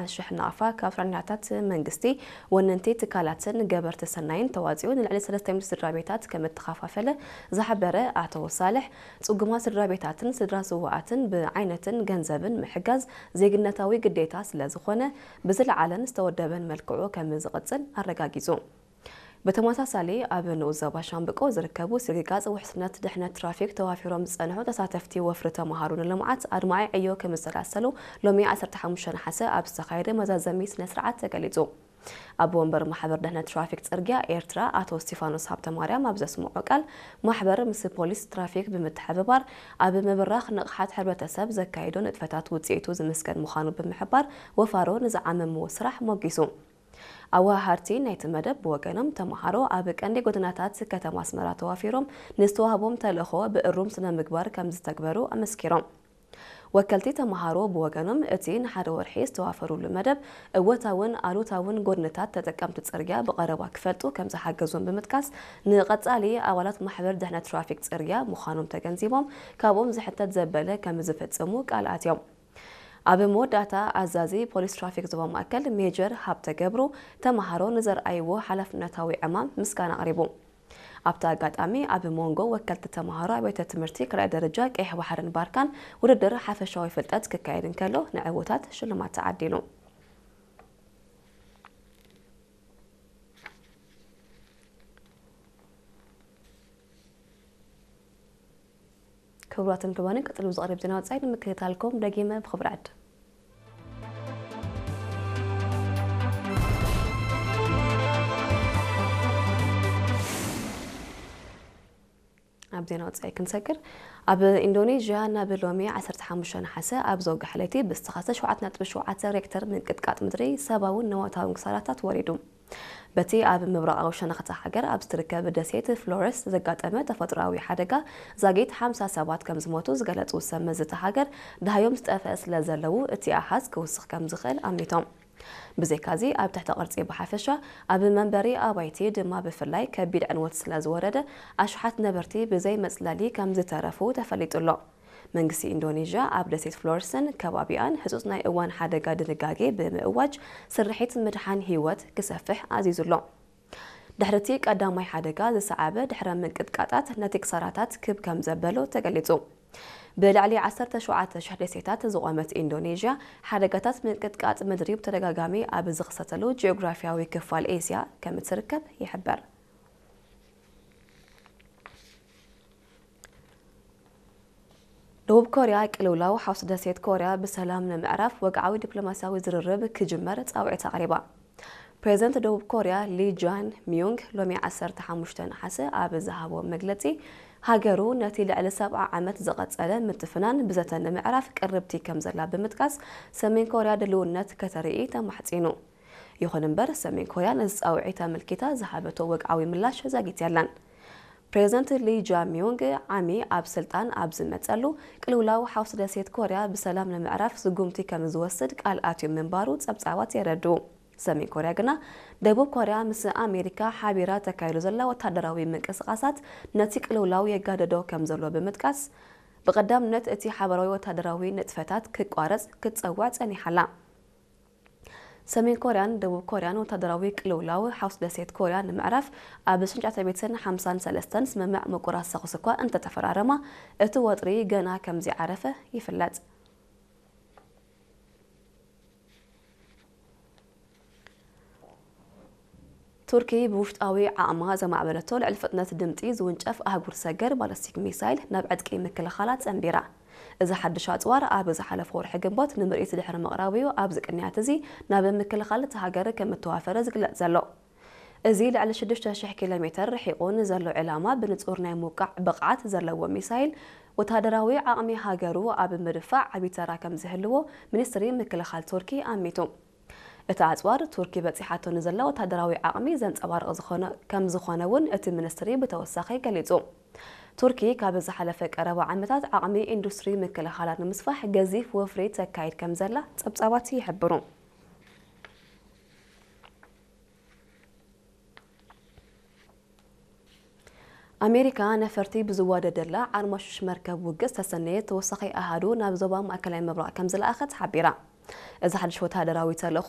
ኣሽሕ ናቕፋ ካብ ሰራሕተኛታት መንግስቲ፣ ወነንቲ ትካላትን ገበርቲ ሰናይን ተዋፂኡ ንልዕሊ ሰለስተ ሚእቲ ስድራ ቤታት ከም እተኸፋፈለ ዝሓበረ ኣቶ ሳልሕ፣ ፅጉማት ስድራ ቤታትን ስድራ ስውኣትን ብዓይነትን ገንዘብን ምሕጋዝ ዜግነታዊ ግዴታ ስለ ዝኾነ፣ ብዝለዓለን ዝተወደበን መልክዑ ከም ዝቕፅል ኣረጋጊፁ። ብተመሳሳሊ፣ ኣብ ንኡስ ዞባ ሻምብቆ ዝርከቡ ስግጋጽ ውሕስነት ድሕነት ትራፊክ ተዋፊሮም ዝጸንሑ ተሳተፍቲ ወፍሪ ተመሃሮ ንልምዓት ኣድማዒ ዕዮ ከም ዝሰላሰሉ ሎሚ ዓሰርተ ሓሙሽተ ነሓሰ ኣብ ዝተኻየደ መዛዘሚ ስነ ስርዓት ተገሊጹ። ኣቦ ወንበር ማሕበር ድሕነት ትራፊክ ጽርግያ ኤርትራ ኣቶ እስቲፋኖስ ሃብተማርያም ኣብ ዘስምዖ ቃል፣ ማሕበር ምስ ፖሊስ ትራፊክ ብምትሕብባር ኣብ ምብራኽ ንቕሓት ሕብረተሰብ ዘካየዶ ንጥፈታት ውጽኢቱ ዝምስገን ምዃኑ ብምሕባር፣ ወፋሮ ንዝዓመምዎ ስራሕ ሞጊሱ። ኣወሃሃድቲ ናይቲ መደብ ብወገኖም፣ ተመሃሮ ኣብ ቀንዲ ጎደናታት ከተማ ኣስመራ ተዋፊሮም ንዝተዋህቦም ተልእኾ ብእሩም ስነ ምግባር ከም ዝተግበሩ ኣመስኪሮም። ወከልቲ ተመሃሮ ብወገኖም፣ እቲ ንሓደ ወርሒ ዝተዋፈሩሉ መደብ እወታውን ኣሉታውን ጎድንታት ተጠቀምቲ ጽርግያ ብቐረባ ክፈልጡ ከም ዝሓገዞም ብምጥቃስ፣ ንቐጻሊ ኣባላት ማሕበር ድሕነት ትራፊክ ጽርግያ ምዃኖም ተገንዚቦም፣ ካብኦም ዝሕተት ዘበለ ከም ዝፍጽሙ ቃል ኣትዮም። ኣብ መወዳእታ፣ ኣዛዚ ፖሊስ ትራፊክ ዞባ ማእከል ሜጀር ሃብተ ገብሩ፣ ተመሃሮ ንዘርኣይዎ ሓላፍነታዊ ዕማም ምስጋና ኣቕሪቡ። ኣብቲ ኣጋጣሚ፣ ኣብ መንጎ ወከልቲ ተመሃሮ ኣብያተ ትምህርቲ ካልኣይ ደረጃ ቀይሕ ባሕርን ባርካን ውድድር ሓፈሻዊ ፍልጠት ክካየድ እንከሎ፣ ንዕዉታት ሽልማት ተዓዲሉ። ክቡራትን ክቡራንን፣ ቀጺሉ ዝቐርብ ዜና ወጻኢ ንምክትታልኩም ደጊመ ብኽብሪ ዕድም። ኣብ ዜና ወጻኢ ክንሰግር፣ ኣብ ኢንዶኔዥያ ናብ ሎሚ ዓሰርተ ሓሙሽተ ነሓሰ ኣብ ዘውግሐ ለይቲ ብዝተኸስተ ሸውዓተ ነጥቢ ሸውዓተ ሬክተር ምንቅጥቃጥ ምድሪ ሰብኣውን ንዋታውን ክሳራታት ወሪዱ። በቲ ኣብ ምብራቓዊ ሸነኽ እታ ሃገር ኣብ ዝትርከብ ደሴት ፍሎረስ ዘጋጠመ ተፈጥሮኣዊ ሓደጋ ዛጊት ሓምሳ ሰባት ከም ዝሞቱ ዝገለጹ ሰብ መዚ እታ ሃገር፣ ደሃዮም ዝጠፍአ ስለ ዘለዉ እቲ ኣሃዝ ክውስኽ ከም ዝኽእል ኣሚቶም። ብዘይካዚ ኣብ ትሕተ ቅርጺ ብሓፈሻ ኣብ መንበሪ ኣባይቲ ድማ ብፍላይ ከቢድ ዕንወት ስለ ዝወረደ ኣሽሓት ነበርቲ ብዘይ መጽለሊ ከም ዝተረፉ ተፈሊጡ ኣሎ። መንግስቲ ኢንዶኔዥያ ኣብ ደሴት ፍሎርስን ከባቢኣን ህጹጽ ናይ እዋን ሓደጋ ድንጋጌ ብምእዋጅ ስርሒት ምድሓን ህይወት ክሰፍሕ ኣዚዙ ኣሎ። ድሕሪ እቲ ቀዳማይ ሓደጋ ዝሰዓበ ድሕረ ምንቅጥቃጣት ነቲ ክሳራታት ክብ ከም ዘበሎ ተገሊጹ። ብልዕሊ ዓሰርተ ሸውዓተ ሽሕ ደሴታት ዝቖመት ኢንዶኔዥያ፣ ሓደጋታት ምንቅጥቃጥ ምድሪ ብተደጋጋሚ ኣብ ዝኽሰተሉ ጂኦግራፊያዊ ክፋል ኤስያ ከም እትርከብ ይሕበር። ደቡብ ኮርያ ቅልውላው ሓውሲ ደሴት ኮርያ ብሰላም ንምዕራፍ ወግዓዊ ዲፕሎማስያዊ ዝርርብ ክጅመር ጻውዒት ኣቕሪባ። ፕሬዝደንት ደቡብ ኮርያ ሊ ጃን ሚዩንግ ሎሚ ዓሰርተ ሓሙሽተ ነሓሰ ኣብ ዝሃቦ መግለጺ፣ ሃገሩ ነቲ ልዕሊ ሰብዓ ዓመት ዝቐጸለ ምትፍናን ብዘተ ንምዕራፍ ቅርብቲ ከም ዘላ ብምጥቃስ፣ ሰሜን ኮርያ ድልውነት ከተርኢ ተማሕጺኑ። ይኹን እምበር፣ ሰሜን ኮርያ ነዚ ጻውዒት ኣመልኪታ ዝሃበቶ ወግዓዊ ምላሽ ዛጊት የለን። ፕሬዝደንት ሊ ጃሚዮንግ ዓሚ ኣብ ስልጣን ኣብ ዝመጸሉ፣ ቅልውላው ሓውሲ ደሴት ኮርያ ብሰላም ንምዕራፍ ስጉምቲ ከም ዝወስድ ቃል ኣትዩ ምንባሩ ጸብጻባት የረድኡ። ሰሜን ኮርያ ግና፣ ደቡብ ኮርያ ምስ ኣሜሪካ ሓቢራ ተካይዶ ዘላ ወታደራዊ ምንቅስቓሳት ነቲ ቅልውላው የጋደዶ ከም ዘሎ ብምጥቃስ፣ ብቐዳምነት እቲ ሓባራዊ ወታደራዊ ንጥፈታት ክቋረጽ ክትጸውዕ ጸኒሓ ኣላ። ሰሜን ኮርያን ደቡብ ኮርያን ወታደራዊ ቅልውላው ሓውሲ ደሴት ኮርያ ንምዕራፍ ኣብ ሽዱሽተ ሚእትን ሓምሳን ሰለስተን ስምምዕ ምቁራጽ ተኹሲ እኳ እንተተፈራረማ፣ እቲ ወጥሪ ገና ከም ዘይዓረፈ ይፍለጥ። ቱርኪ ብውሽጣዊ ዓቕማ ዘማዕበለቶ ልዕሊ ፍጥነት ድምጺ ዝውንጨፍ ኣህጉር ሰገር ባለስቲክ ሚሳይል ናብ ዕጥቂ ምክልኻላ ጸንቢራ። እዚ ሓድሽ ኣጽዋር ኣብ ዝሓለፈ ወርሒ ግንቦት ንምርኢት ድሕሪ ምቕራቡ እዩ ኣብዚ ቅንያት እዚ ናብ ምክልኻል እታ ሃገር ከም እተዋፈረ ዝግለጽ ዘሎ። እዚ ልዕሊ ሽዱሽተ ሽሕ ኪሎ ሜተር ርሒቑ ንዘሎ ዕላማ ብንጹር ናይ ምውቃዕ ብቕዓት ዘለዎ ሚሳይል፣ ወተሃደራዊ ዓቕሚ ሃገሩ ኣብ ምድፋዕ ዓቢ ተራ ከም ዝህልዎ ሚኒስትሪ ምክልኻል ቱርኪ ኣሚቱ። እቲ ኣጽዋር፣ ቱርኪ በጺሓቶ ንዘላ ወተሃደራዊ ዓቕሚ ዘንጸባርቕ ዝኾነ፣ ከም ዝኾነ እውን እቲ ሚኒስትሪ ብተወሳኺ ገሊጹ። ቱርኪ፣ ካብ ዝሓለፈ ቀረባ ዓመታት ዓቕሚ ኢንዱስትሪ ምክልኻላ ንምስፋሕ ገዚፍ ወፍሪ ተካይድ ከም ዘላ ጸብጻባት ይሕብሩ። ኣሜሪካ፣ ነፈርቲ ብዝዋደደላ ዓርማሹሽ መርከብ ውግእ ዝተሰነየ ተወሳኺ ኣሃዱ ናብ ዞባ ማእከላይ ምብራቕ ከም ዝለኣኸት ሓቢራ። እዚ ሓድሽ ወተሃደራዊ ተልእኾ